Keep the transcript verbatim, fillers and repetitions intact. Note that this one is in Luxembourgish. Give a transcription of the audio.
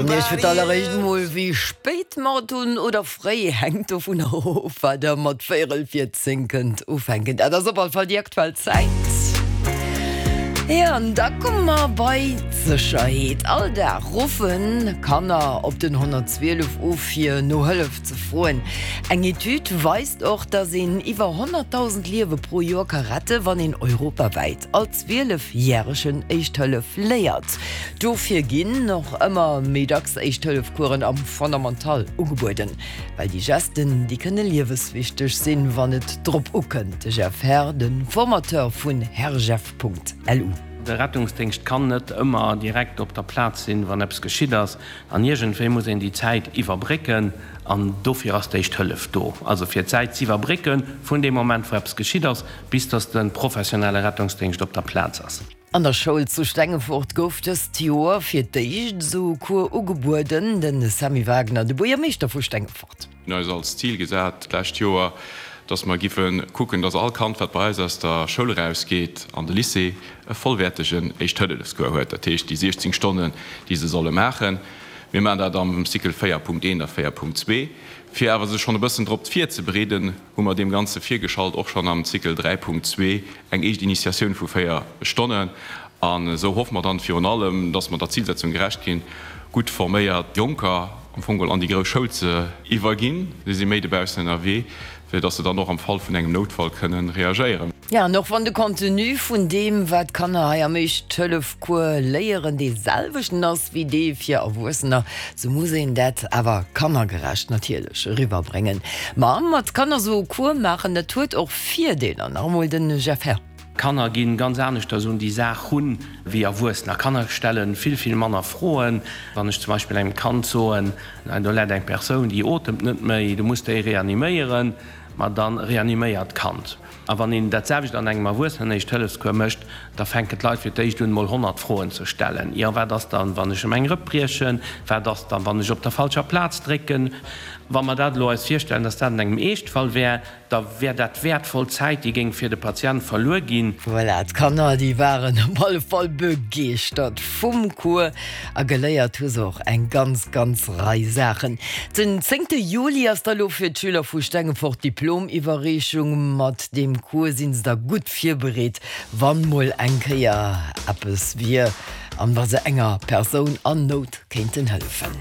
Iech fir d'alleréischt mol, wéi spéit mer et hunn oder fréi, hänkt dovunner of, wat der mat véierel vir zéng kënnt ufänken. Dat ass op all Fall déi aktuell Zäit. Jo, an da komme mer bei d'Sécherheet. All Dag ruffe Kanner op den honnertzwielef u fir no Hëllef ze froen. Eng Etüd weist och, dass een iwwer honnertdausend Liewe pro Joer ka rette wann een europawäit all Zwielefjäregen Éischt Hëllef léiert. Dofir ginn och ëmmer méi dacks Éischt-Hëllef-Coursen am Fondamental ugebueden, well déi Gesten, déi kënne lieweswichteg sinn, wann et drop ukënnt. De Jeff Herr, de Formateur vun herrjeff.lu. De Rettungsdéngscht kann net ëmmer direkt op der Plaz sinn, wann eppes geschitt ass. An iergendwéi muss een déi Zäit iwwerbrécken. An dofir ass d'Éischt Hëllef do, also fir d'Zäit z'iwwerbrécken vun deem Moment, wou eppes geschitt ass, bis dass de professionelle Rettungsdéngscht op der Plaz ass. An der Schoul zu Stengefort gouf dëst Joer fir d'éischt esou e Cours ugebueden. De Sammy Wagner, de Buergermeeschter vu Stengefort. Mir hunn eis als Zil gesat d'lescht Joer, dass mer giffe kucken, dass all Kand, wat bei eis aus der Schoul erausgeet an de Lycée, e vollwäertegen Éischt-Hëllefscours huet, dat heescht déi siechzéng Stonnen, déi se solle maachen. Mir maachen dat am Cycle véier Punkt eent a véier Punkt zwee. Fir awer sech schonn e bëssen drop virzebereeden, hu mer deem Ganze virgeschalt och schonn am Cycle dräi Punkt zwee eng éischt Initiatioun vu véier Stonnen. An esou hoffe mer dann virun allem, dass mer der Zilsetzung gerecht ginn, gutt forméiert Jonker am Fong geholl an déi grouss Schoul ze iwwerginn. Si si méi dobaussen ënnerwee, fir dass se dann och am Fall vun engem Noutfall kënnen reagéieren. Jo, an och wann de Contenu vun deem, wat d'Kanner hei am Éischt-Hëllef-Cours léieren, dee selwechten ass wéi dee fir Erwuessener, sou muss een dat awer kannergerecht natierlech eriwwerbréngen. Ma mat Kanner sou e Cours maachen, dat huet och Virdeeler. Nach emol de Jeff Herr. Kanner gi ganz aneschters un déi Saach run wéi Erwuessener. Kanner stelle vill, vill manner Froen. Wann ech zum Beispill engem Kand soen, do läit eng Persoun, déi otemt net méi, du muss déi reaniméieren, ma da reaniméiert d'Kand. A wann een dat selwecht an engem Erwuessenen-Éischt-Hëllefscours mécht, da fänken d'Leit fir d'éischt un, mol honnert Froen ze stellen, Jo, wat ass dann, wann ech em eng Rëpp briechen? Wat ass dann, wann ech op der falscher Plaz drécken? Wa mer dat elo eis virstellen, dass dat an engem Eeschtfall wär, da wär dat wäertvoll Zäit, déi géing fir de Patient verluer ginn. Voilà, d'Kanner, déi waren op alle Fall begeeschtert vum Cours a geléiert hu se och eng ganz, ganz Rei Saachen. Den zéngte Juli ass da lo fir d'Schüler vu Stengefort d'Diplomiwwerreechung. Mat deem Cours si se da gutt virbereet, wann mol eng Kéier eppes wier an wa se enger Persoun an Nout kéinten hëllefen.